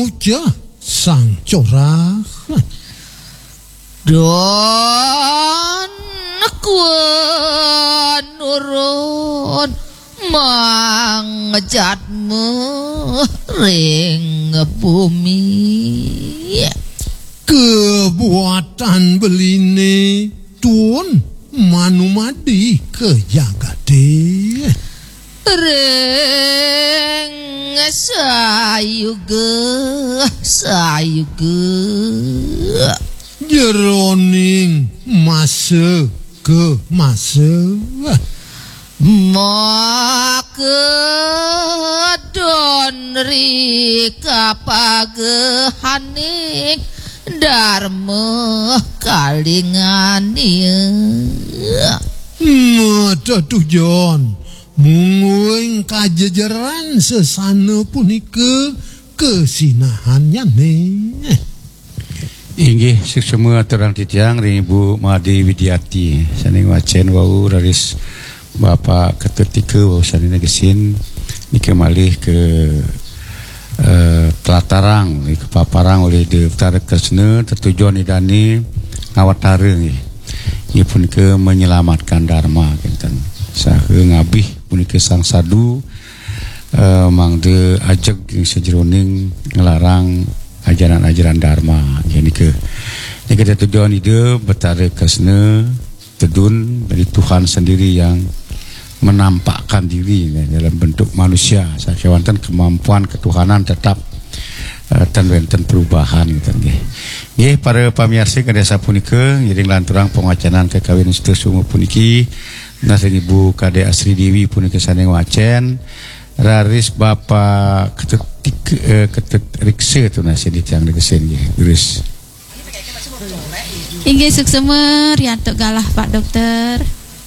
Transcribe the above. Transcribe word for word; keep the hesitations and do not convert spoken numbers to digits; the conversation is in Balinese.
Ucah sang corah. Don kuan urun mangjatma ring bumi. Kebuatan beline tun manumadi ke jagate. Ring sayuga, sayuga. Jeroning masa ke masa. Maka don ri kapagahaning Darma Kalingania. Mata tujon, mungguing kajejeran sesana punika kesinahannyané. Inggih, suksma aturang titiang ring Ibu Made Widiati, sane ngwacen wau, raris Bapak Ketut Tika wau sane negesin, nika malih ke, eh, tlatarang, kapaparang olih Ida Betara Kresna, tetujon Idane ngawatara nggih. Inggih punika menyelamatkan Dharma kinten. Saha ngabih punika sang sadu, eh, mangda ajeg ing sajeroning nglarang ajaran-ajaran Dharma. Nggih nika. Nika tetujon Ida Betara Kresna, tedun dari Tuhan sendiri yang menampakkan diri, nggih, dalam bentuk manusia. Sakewanten kemampuan ketuhanan tetap, eh, ten wenten perubahan, gitu, nggih. Nggih, para pamiarsa, kadi sapunika ngiring lanturang pangawacanan kakawin Sutasoma puniki, nunas ring Ibu Kadek Asri Dewi punika sane ngwacen, raris Bapak Ketut Tik-, eh, Ketut Riksa tunas ring titiang negesin, nggih. Terus. Inggih, suksma riantuk galah, Pak Dokter.